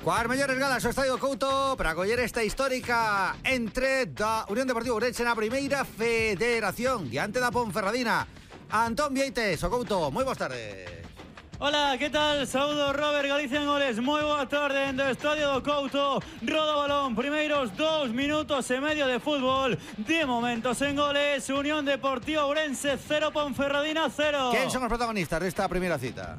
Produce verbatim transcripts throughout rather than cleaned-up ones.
Cuas mellores galas o Estadio Couto para acoller esta histórica entre da Unión Deportiva Ourense na primeira federación diante da Ponferradina. Antón Vieites, o Couto, moi boas tardes. Hola, ¿qué tal? Saúdo Robert Galicia en goles. Moi boa tarde en do Estadio do Couto. Roda o balón, primeiros dous minutos e medio de fútbol. De momentos en goles, Unión Deportiva Ourense cero, Ponferradina cero. ¿Quién son os protagonistas desta primeira cita?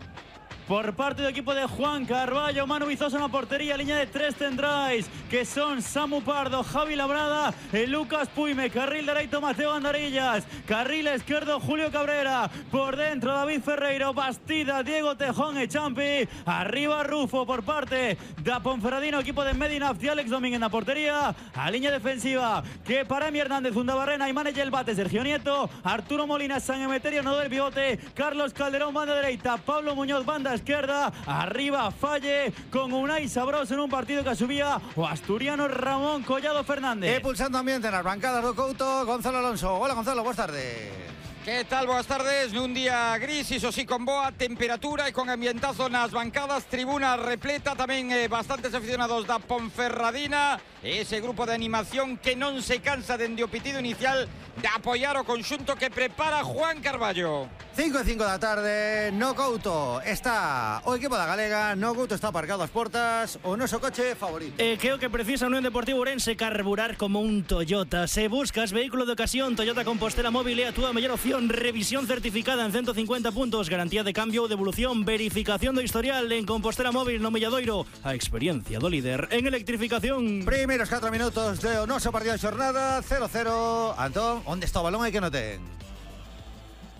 Por parte del equipo de Juan Carballo, Manu Vizosa en la portería, línea de tres tendráis, que son Samu Pardo, Javi Labrada, eh, Lucas Puime, carril derecho Mateo Andarillas, carril izquierdo Julio Cabrera, por dentro David Ferreiro, Bastida, Diego Tejón e Champi, arriba Rufo por parte da Ponferradina, equipo de Medinafti, Alex Domínguez en la portería, a línea defensiva, que para Emi Hernández, Undabarrena, Imane el bate, Sergio Nieto, Arturo Molina, San Emeterio, no del pivote, Carlos Calderón, banda derecha, Pablo Muñoz, banda izquierda, arriba Falle con Unai Sabroso en un partido que subía o asturiano Ramón Collado Fernández. E pulsando ambiente nas bancadas do Couto, Gonzalo Alonso. Hola Gonzalo, boas tardes. ¿Qué tal? Boas tardes. Nun día gris, iso sí, con boa temperatura e con ambientazo nas bancadas, tribuna repleta, tamén eh, bastantes aficionados da Ponferradina, ese grupo de animación que non se cansa dende o pitido inicial de apoiar o conxunto que prepara Juan Carballo. cinco e cinco da tarde, no Couto está o equipo da Galega, no Couto está aparcado ás portas, o noso coche favorito. Eh, creo que precisa a Unión Deportiva Ourense carburar como un Toyota. Se buscas vehículo de ocasión, Toyota Compostela Móvil é a túa mellor opción. Revisión certificada en ciento cincuenta puntos, garantía de cambio ou devolución, verificación do historial en Compostela Móvil no Milladoiro, a experiencia do líder en electrificación. Primeiros catro minutos do noso partido de xornada, cero cero. Antón, onde está o balón e que non ten?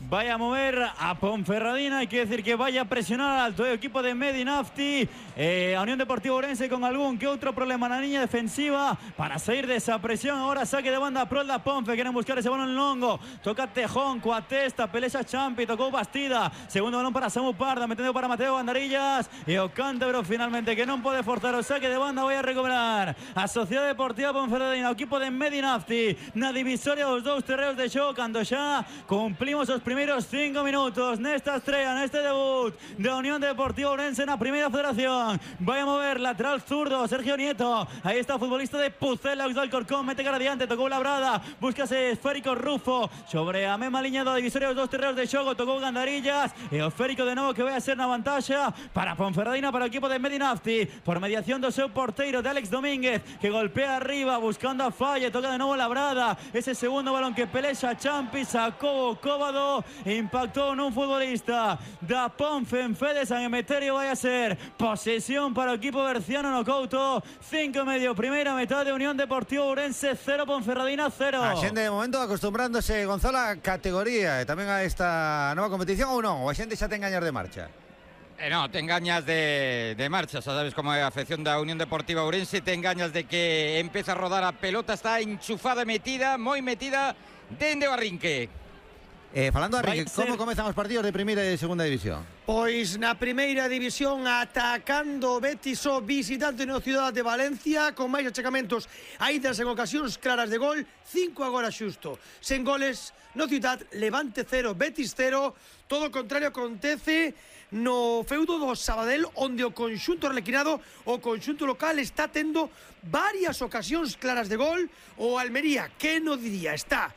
Vaya a mover a Ponferradina, hay que decir que vaya a presionar al alto el equipo de Medinafti, eh, a Unión Deportiva Ourense con algún que otro problema en la línea defensiva para salir de esa presión. Ahora saque de banda pro da Ponfe, quieren buscar ese balón longo, toca Tejón, coa testa, pelexa Champi, tocou Bastida, segundo balón para Samu Parda, metiendo para Mateo Bandarillas e o Cántabro finalmente que non pode forzar o saque de banda. Vai a recuperar a Sociedade Deportiva Ponferradina, o equipo de Medinafti na divisoria dos dous terreos de xogo, cando xa cumplimos os primeros cinco minutos nesta estrella, neste debut de Unión Deportiva Ourense na primeira federación. Vai a mover lateral zurdo Sergio Nieto, aí está o futbolista de Pucela, do Alcorcón, mete cara adiante, tocou Labrada, búscase esférico Rufo sobre a mesma liña da divisoria dos dos terreos de xogo, tocou Gandarillas e o esférico de novo que vai a ser na vantaxa para Ponferradina, para o equipo de Medinafti, por mediación do seu porteiro de Alex Domínguez, que golpea arriba buscando a Falle, toca de novo Labrada, ese segundo balón que pelexa Champi, sacou o Cóbado, impactó en un futbolista da Ponfe en Fede San Emeterio. Vai a ser posesión para o equipo berciano no Couto, cinco e medio, primeira metade, Unión Deportiva Ourense cero, Ponferradina cero. A xente de momento acostumbrándose, Gonzalo, a categoría e tamén a esta nova competición, ou non? Ou a xente xa ten gañas de marcha? Eh, no, te engañas de, de marcha, sabes como é a afección da Unión Deportiva Ourense, te engañas de que empeza a rodar a pelota, está enchufada, metida, moi metida, dende o arrinque. Eh, falando a Rique, como comezan os partidos de primeira e de segunda división? Pois na primeira división atacando Betis o visitante no Cidade de Valencia, con máis achegamentos, aidas en ocasións claras de gol, cinco agora xusto. Sen goles no Ciutat, Levante cero, Betis cero. Todo o contrario acontece no feudo do Sabadell, onde o conxunto arlequinado, o conxunto local, está tendo varias ocasións claras de gol. O Almería, que no diría, está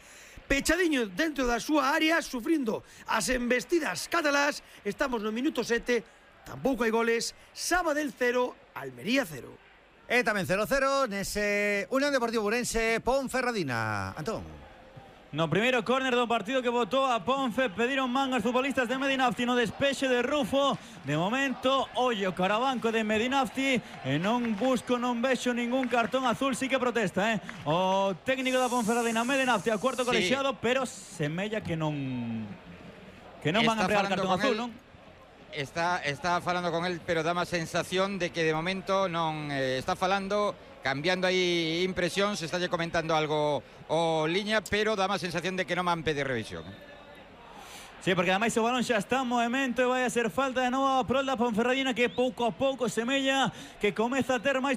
pechadiño dentro da súa área, sufrindo as embestidas catalás. Estamos no minuto sete, tampouco hai goles. Sabadell cero, Almería cero. E tamén cero cero nese Unión Deportiva Ourense, Ponferradina. Antón. No primeiro córner do partido que botou a Ponfe, pediron mangas futbolistas de Medinafti no despexe de Rufo. De momento, ollo carabanco de Medinafti e non busco, non vexo ningún cartón azul, sí que protesta, eh? O técnico da Ponferradina, Medinafti, a cuarto colexiado, sí, pero semella que non que non van a empregar cartón azul, non? Está, está falando con él, pero dá má sensación de que de momento non eh, está falando, cambiando aí impresións, está lle comentando algo o liña, pero dá má sensación de que non van pedir revisión. Sí, porque ademais o balón xa está en movimento e vai a ser falta de novo a prol da Ponferradina, que pouco a pouco semella que comeza a ter máis